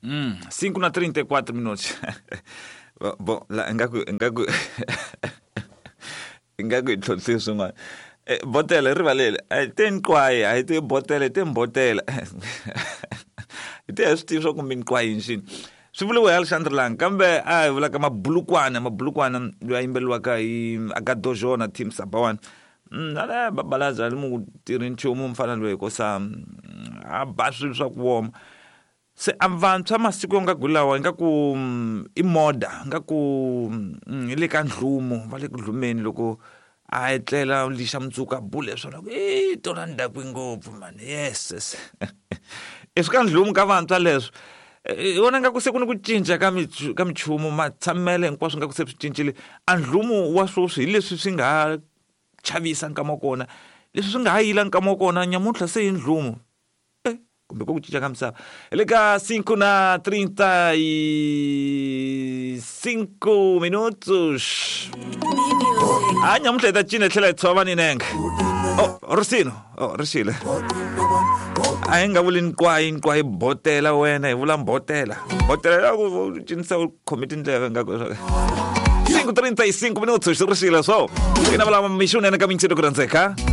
5 na 34 minutos. Bom, la ingaku ingaku ingaku hi tlhontlhi swin'wana. Eh, botela rivalele a hi te nqwayi a hi te botela hi te mbotela hi te hi swi tivi swa ku minqwayi nxini swi vuriwe hi Alexandre Lang kambe a hi vulaka mabulukwana mabulukwana loyi a yimbeleriwaka hi Agadojo na Team Sabawan. Ale babalaza ali mu tirhi nchumu mfana loyi hikosa a ba swilo swa ku woma. Se a vantshwa masiku yo nga ku lawa ingaku i moda ingaku hi le ka ndlumo va le ku dlumeni loko a etlela lixa mundzuku a bule swona ku i tona ni dakwe ngopfu mani yes yes i swi ka ndlumo ka vantshwa leswo i vona nga ku se ku ni ku cinca ka ka minchumu matshamelo hinkwaswo nga ku se swi cincile a ndlumo wa sweswi hi leswi swi nga ha chavisa nkama wa kona leswi swi nga ha yila nkama wa kona nyamuntlha se i ndlumo kumbe ku cinca ka misava hi le ka 5 na 35 minutos a nyamuntlha hi ta cina hi tlhela hi tshova ni nenge oh risino oh rixile a hi nga vuli nqwayi nqwayi botela wena hi vula mbotela botela ya ku cinisa u khome tindleve nga ku 5:35 minutos rixile so ina vula mixunene ka mintsino ku rhandzeka.